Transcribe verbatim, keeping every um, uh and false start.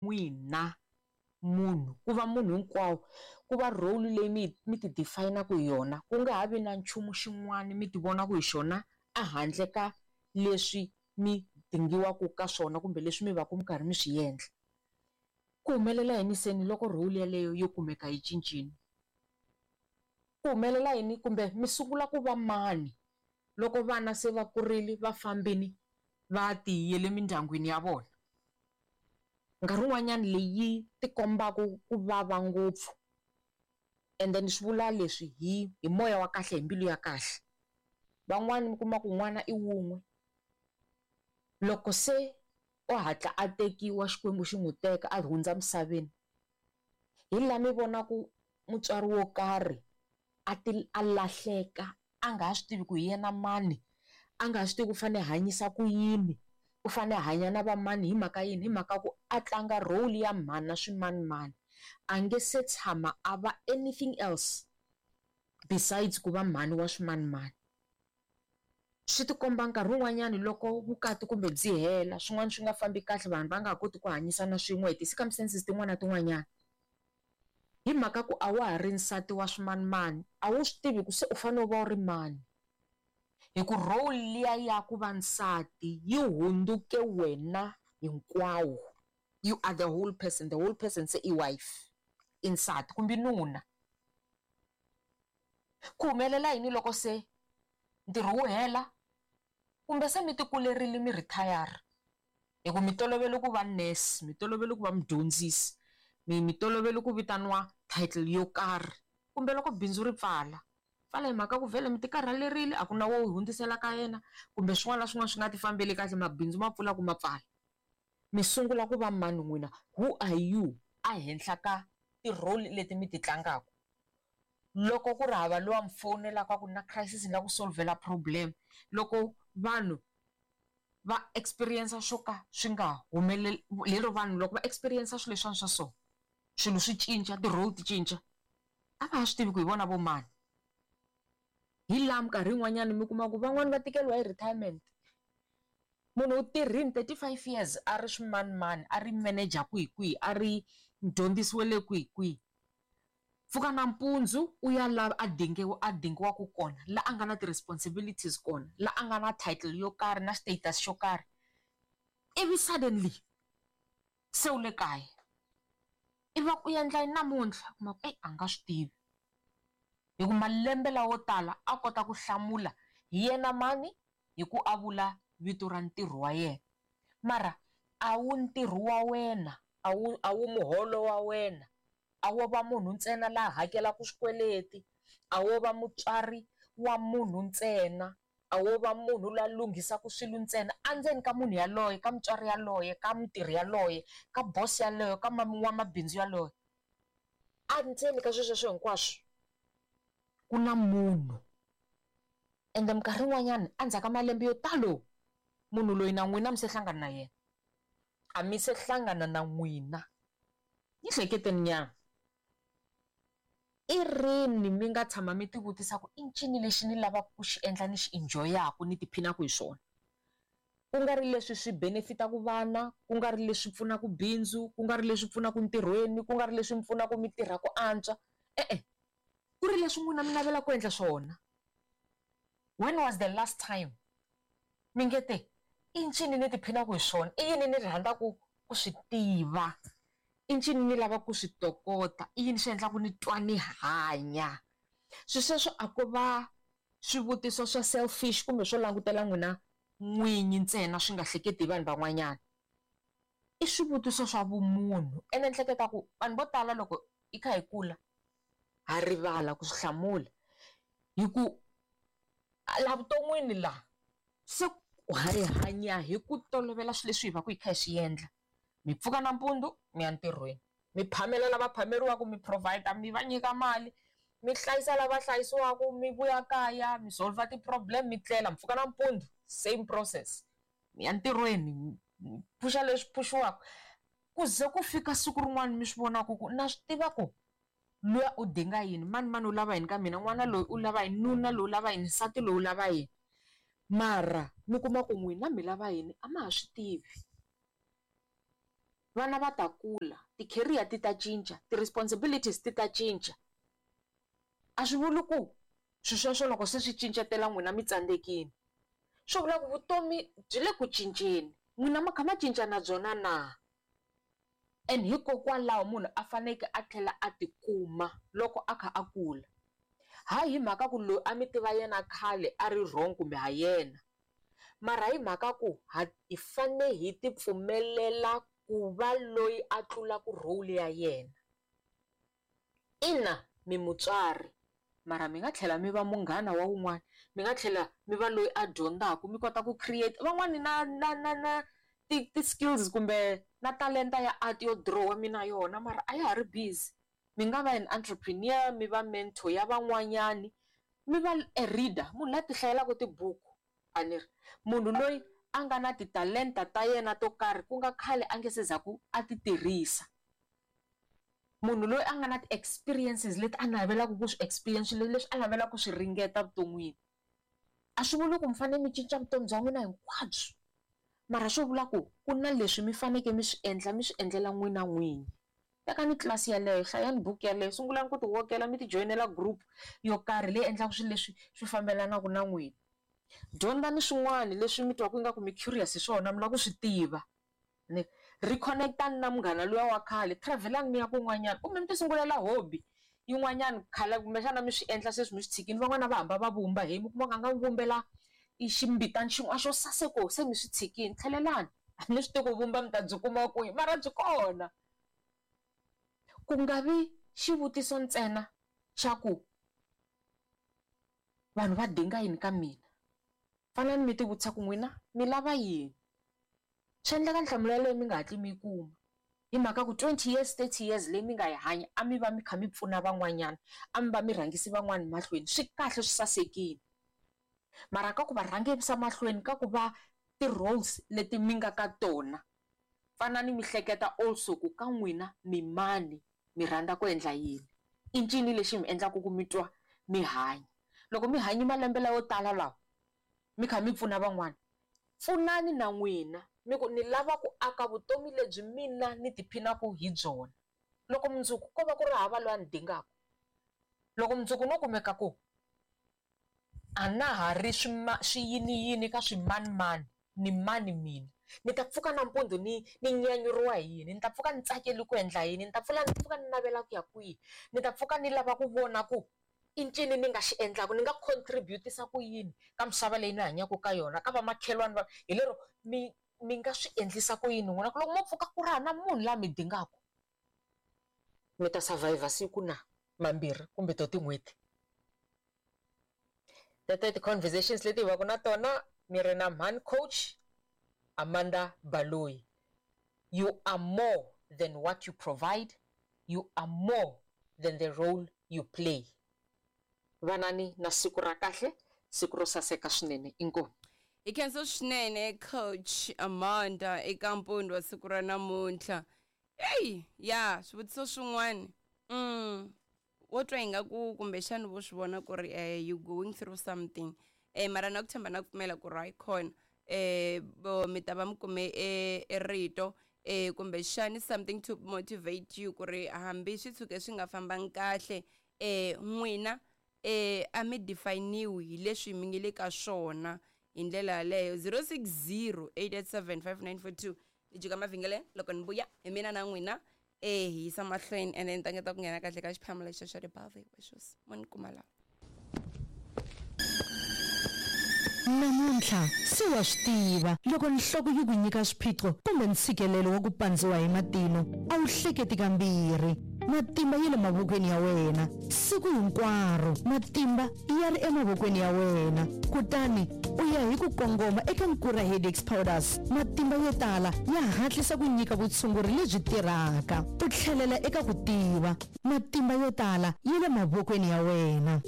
N'wina munhu ku va munhu hinkwawo ku va role leyi mi mi ti define-aka hi yona ku nga ha vi na nchumu xin'wana mi ti vonaka hi xona ehandle ka leswi mi dingiwaka ka swona kumbe leswi mi va ka mi karhi mi swi endla. Ku humelela yini se ni loko role yeleyo yo kumeka yi cincile? Ku humelela yini kumbe mi sungula ku va mani loko vana se va kurile va fambile va tiyele mindyangwini ya vona? Nkarhi wun'wanyana leyi tikombaka ku vava ngopfu ende ni swi vula leswi hi hi moya wa kahle hi mbilu ya kahle. Van'wani mi kuma ku n'wana i wun'we loko se o hatla a tekiwa Xikwembu xi n'wi teka a hundza misaveni hi laha mi vonaku mutswari wo karhi a ti a lahleka a nga ha swi tivi ku hi yena mani a nga ha swi tivi ku u fanele a hanyisa ku yini u fanele a hanya na va mani hi mhaka yini hi mhaka ku a tlanga role ya mhani na swimanimani a nge se tshama a va anything else besides ku va mhani wa swimanimani. Swi tikomba nkarhi wun'wanyani loko vukati kumbe byi hela swin'wana swi nga fambi kahle vanhu va nga ha koti ku hanyisana swin'we hi ti-circumstances tin'wana na tin'wanyana hi mhaka ku a wa ha ri nsati wa swimanimani a wu swi tivi ku se u fanele u va u ri mani hi ku role liya ya ku va nsati yi hundzuke wena hinkwawo you are the whole person the whole person se i wife i nsati kumbe nuna. Ku humelela yini loko se ntirho wu hela kumbe se mi ti kulerile mi retire hi ku mi tolovele ku va nurse mi tolovele ku va mudyondzisi mi mi tolovele ku vitaniwa title yo karhi kumbe loko bindzu ri pfala pfala hi mhaka ku vhele mi ti karhalerile a ku na wo hundzisela ka yena kumbe swin'wana na swin'wana swi nga ti fambeli kahle mabindzu ma pfula ku ma pfala mi sungula ku va mani n'wina who are you a henhla ka ti-role leti mi ti tlangaka loko ku ri hava lowa mi fowunelaka ku na crisis ni lava ku solvela problem loko vanhu va experience swo ka swi nga humeleli lero vanhu loko va experience swilo leswiwani swa so swilo swi cinca ti-role ti cinca a va ha swi tivi ku hi vona vo mani hi laha minkarhi yin'wanyana mi kuma ku van'wani va tikeriwa hi retirement munhu u tirhini thirty five years a ri swimanimani a ri manager kwihi kwihi a ri mudyondzisi wa le kwihi kwihi pfuka nampundzu u ya lava a dingiwa a dingiwaka kona la a nga na ti-responsibilities kona la a nga na title yo karhi na status xo karhi ivi suddenly se u le kaya ivi va ku u endla yini namuntlha u kuma ku eyi a nga swi tivi hi ku malembe lawo tala a kota ku hlamula hi yena mani hi ku a vula vito ra ntirho wa yena mara a wu ntirho wa wena a wu a wu muholo wa wena a wo va munhu ntsena la hakelaka swikweleti a wo va mutswari wa munhu ntsena a wo va munhu la lunghisaka swilo ntsena endzeni ka munhu yaloye ka mutswari yaloye ka mutirhi yaloye ka boss yaloye ka n'wamabindzu yaloye endzeni ka swilo sweswo hinkwaswo ku na munhu ende minkarhi yin'wanyana endzhaku ka malembe yo talo munhu loyi na n'wina mi se hlangana na yena a mi se hlangana na n'wina yi hleketeni nyana i rini mi nga tshama mi ti vutisa ku i ncini lexi ni lavaka ku xi endla ni xi enjoy-aku ni tiphinaku hi swona ku nga ri leswi swi benefit-aku vana ku nga ri leswi pfunaka bindzu ku nga ri leswi pfunaka ntirhweni ku nga ri leswi mi pfunaka mi tirha ku antswa e-e ku ri leswi n'wina mi navelaka ku endla swona when was the last time mi nge te i ncini ni tiphinaku hi swona i yini ni rhandzaka ku swi tiva i ncini ni lavaka ku swi tokota i yini swi endlaka ni twa ni hanya swilo sweswo a ko va swivutiso swa selfish kumbe swo langutela n'wina n'winyi ntsena swi nga hleketi hi vanhu van'wanyana i swivutiso swa vumunhu ene ni hleketa ku vanhu vo tala loko hi kha hi kula ha rivala ku swi hlamula hi ku laha vuton'wini laha se hi hanya hi ku tolovela swilo leswi hi va ku hi kha hi swi endla mi pfuka nampundzu mi ya ntirhweni mi phamela lava phameriwaka mi provide mi va nyika mali mi hlayisa lava hlayisiwaka mi vuya kaya mi solve ti-problem mi tlela mi pfuka nampundzu same process mi ya ntirhweni mi phuxa leswi phuxiwaka ku ze ku fika siku rin'wana mi swi vonaka ku na swi tiva ku luya u dinga yini mani mani u lava yini ka mina n'wana loyi u lava yini nuna loyi u lava yini nsati loyi u lava yini mara mi kuma ku n'wina mi lava yini a ma ha swi tivi. Vana va ta kula, ti-career ti ta cinca, ti-responsibilities ti ta cinca. A swi vuli ku swilo sweswo loko se swi cincetela n'wina mi tsandzekile. Swi vula ku vutomi byi le ku cinceni, n'wina mi kha ma cinca na byona na? And hikokwalaho munhu a fanekele a tlhela a tikuma loko a kha a kula. Hayi hi mhaka ku loyi a mi tiva yena khale a ri wrong kumbe ha yena, mara hi mhaka ku ha hi fane hi ti pfumelela ku va loyi a tlulaka role ya yena. Ina mi mutswari, mara mi nga tlhela mi va munghana wa wun'wana, mi nga tlhela mi va loyi a dyondzaka mi kota ku create. Van'wani na na na na ti ti-skills kumbe na talenta ya art yo dirowa mi na yona mara a ya ha ri busy. Mi nga va an entrepreneur, mi va mentor ya van'wanyani, mi va a reader, munhu la ti hlayelaka tibuku a ni ri. Munhu loyi a nga na titalenta ta yena to karhi ku nga khale a nge se za ku a ti tirhisa. Munhu loyi a nga na ti-experiences leti a navelaka ku swi experience leswi a navelaka ku swi ringeta vuton'wini. A swi vuli ku mi fanele mi cinca vutomi bya n'wina hinkwabyo, mara swo vula ku ku na leswi mi fanekele mi swi endla mi swi endlela n'wina n'winyi. Tekani tlilasi yeleyo, hlayani buku yeleyo, sungulani ku ti wokela mi ti joyinela group yo karhi leyi endlaka swilo leswi swi fambelanaka na n'wina. Dyondzani swin'wana leswi mi twaka ingaku mi curious hi swona mi lava ku swi tiva. Ni reconnect-ani na munghana luya wa khale, travel-ani mi ya kun'wanyana kumbe mi ti sungulela hobby yin'wanyana khale kumbexana mi swi endla sweswi mi swi tshikile. Van'wana va hamba va vumba he mi kuma ku a nga vumbela ximbitana xin'wana xo saseka se mi swi tshikile, tlhelelani. A ni swi tivi ku vumba mi ta byi kuma kwihi mara byi kona. Ku nga vi xivutiso ntsena xa ku vanhu va dinga yini ka mina, fanelani mi ti vutisa ku n'wina mi lava yini. Swi endleka nhlamulo yaleyo mi nga hatli mi yi kuma hi mhaka ku twenty years, thirty years leyi mi nga yi hanya a mi va mi kha mi pfuna van'wanyana, a mi va mi rhangisi van'wani mahlweni, swi kahle swi sasekile. Mara ka ku va rhangisa mahlweni ka ku va ti-roles leti mi nga ka tona, fanani mi hleketa also ku ka n'wina mi mani, mi rhandza ku endla yini, i ncini lexi mi endlaka ku mi twa mi hanya. Loko mi hanye malembe layo tala lawa mi kha mi pfuna van'wana, pfunani na n'wina mi ku ni lava ku aka vutomi lebyi mina ni tiphinaka hi byona. Loko mundzuku ko va ku ri hava loyi a ni dingaka, loko mundzuku no kumeka ku a na ha ri swiyiniyini ka swimanimani ni mani mina, ni ta pfuka nampundzu ni ni nyanyuriwa hi yini, ni ta pfuka ni tsakeli ku endla yini, ni ta pfula ni pfuka ni navela ku ya kwihi, ni ta pfuka ni lava ku vona ku i ncini ni nga xi endlaka, ni nga contribute-isa ku yini ka misava leyi ni hanyaka ka yona, ka vamakhelwani va hi lero mi mi nga swi endlisa ku yini n'wina ku loko mo pfuka ku ri hava na munhu la mi dingaka, mi ta survivor siku na mambirhi kumbe to tin'hweti. Teto i ti-conversations leti hi va ku na tona mi ri na mhani coach Amanda Baloyi. You are more than what you provide, you are more than the role you play. Vanani na siku ra kahle, siku ro saseka swinene. Inkomu. Hi khensa swinene coach Amanda eka mpfundo wa siku ra namuntlha. Eyi ya swivutiso swin'wana mm wo twa ingaku kumbexana vo swi vona ku ri eh, you going through something eh, mara na ku tshemba na ku pfumela ku ri hayi khona eh bo mi ta va mi kume e rito eh kumbexani something to motivate you ku ri hambi swi tshuke swi nga fambangi kahle eh n'wina eh a mi definiwi hi leswi mi nge le ka swona hi ndlela yaleyo. Zero six zero eight eight seven five nine four two ni jika mavhengeleni loko ni vuya hi mina na n'wina eh hi yisa mahlweni and then tangeta ku nghena kahle ka xiphemu lexi xa ti-birthday wishes mo ni kuma laha. Namuntlha se wa swi tiva loko nhloko yi ku nyika swiphiqo kumbe ntshikelelo wa ku pandziwa hi matino a wu hleketi kambirhi. Matimba ya le mavokweni ya wena siku hinkwaro, matimba ya ri emavokweni ya wena, kutani u ya hi ku kongoma eka Nkura Headaches Powders. Matimba yo tala ya hatlisa ku nyika vutshunguri lebyi tirhaka, u tlhelela eka ku tiva. Matimba yo tala ya le mavokweni ya wena.